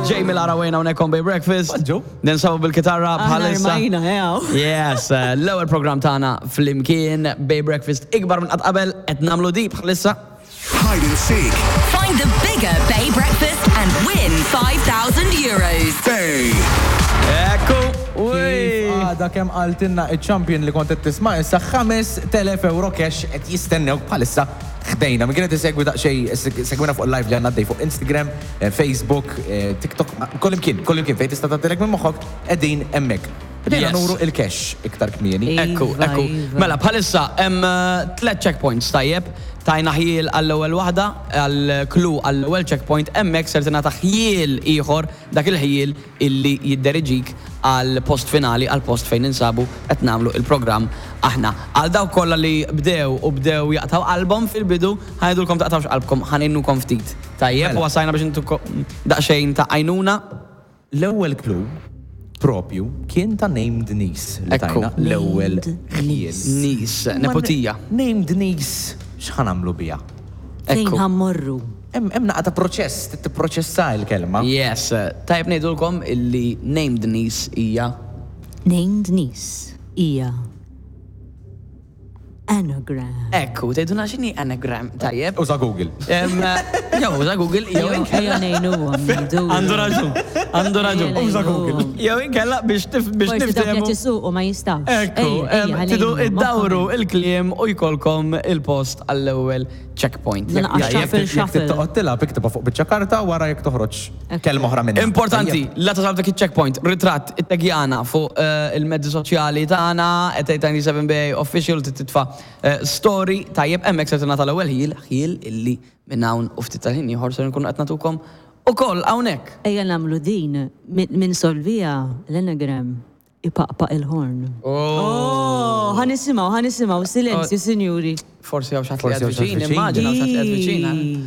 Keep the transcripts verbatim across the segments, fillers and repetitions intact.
Jamie Lara Wayne hawnhekk on Bay Breakfast. Bonġu. Ninsabu bil-kitarra Aħna bħalissa. rmajna, ew. Yes, eh, l-ewwel programm tagħna flimkien Bay Breakfast ikbar minn qatt qabel qed nagħmlu di bħalissa. Hide and seek. Find the bigger Bay Breakfast and win five thousand euros. Bay. Ekku, Kif uj. għada kemm qaltilna il-champion li kont qed tisma' issa, ħamest elef euro cash qed jistennew bħalissa ħdejna. Min kienet isegwi daqsxejn, segwina fuq il-live li għandna dej fuq Instagram, eh, Facebook, eh, TikTok, kullimkien, kullimkien fejn tista' tagħtilek minn moħħok qegħdin hemmhekk. Bdejna Yes. nuru il-cash iktar kmieni. Ekku, Iva, ekku. iva. Mela, bħalissa hemm eh, tliet checkpoints, tajjeb. Tajna ħjiel għall-ewwel waħda, għall-clue għall-ewwel checkpoint, hemmhekk ser tingħata ħjiel ieħor, dak il-ħjiel illi jidderiġik għal post finali, għal post fejn ninsabu qed nagħmlu il-programm aħna. Għal dawk kollha li bdew u bdew jaqtaw qalbhom fil-bidu, ħa ngħidulkom taqtawx qalbkom, ħa ngħinukom ftit. Tajjeb, Mela. u wasajna biex intukom daqsxejn ta' għajnuna. L-ewwel clue propju kien ta' named niece li Ekku. tajna l-ewwel Named ħjiel. Niece, nepotija. Named niece, x'ħa nagħmlu biha? Fejn Ekku. ħa mmorru? Hemm hemm naqa ta' proċess, trid tipproċessa l-kelma. Yes, tajb ngħidulkom illi named niece hija Named niece hija anagram. Ekku, tgħiduna x'inhi anagram, tajjeb. Uża Google. Em, Jew uża Google, jew Ejja inkella. ngħinuhom, ngħidu. Għandu raġun, għandu raġun. Uża Google. Jew inkella biex tif biex Forsi dak niftehmu. qed isuqu ma jistgħux. Ekku, Ejja, em, ejja, tidu ħalejnu, iddawru moħħhom. il-kliem u jkollkom il-post għall-ewwel checkpoint. Mela, Tajjeb. shuffle, Jekk shuffle. toqgħod tilgħab, iktibha fuq biċċa karta wara jekk toħroġ kelma oħra minnha. Importanti, la tasal dak il-checkpoint, ritratt, it-tagjana fuq eh, il-mezzi soċjali tagħna, at eight nine seven Bay Official, titfa eh, story, tajjeb, hemmhekk se tingħata l-ewwel ħjiel, ħjiel illi minn hawn u ftit tal-ħin ieħor se nkunu qed nagħtukom ukoll hawnhekk. Ejja nagħmlu din min min solvija l-anagram ipaqpaq il-horn. Oh, ħa nisimgħu, ħa nisimgħu, silenzju, sinjuri. Forsi hawn xi ħadd li Forsi qed hawn xi ħadd viċin, viċin. immaġina hawn xi ħadd li qed viċin.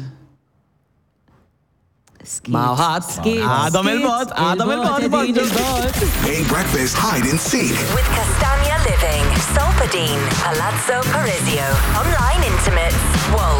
Skiet. Ma ħadd. Skiet, Għadhom skiet. il-bot, għadhom il-bot, qegħdin bonġu. il-bot. Bay Breakfast Hide and Seek. With Castagna Living, Solpadine, Palazzo Parisio, Online Intimates, Wolt.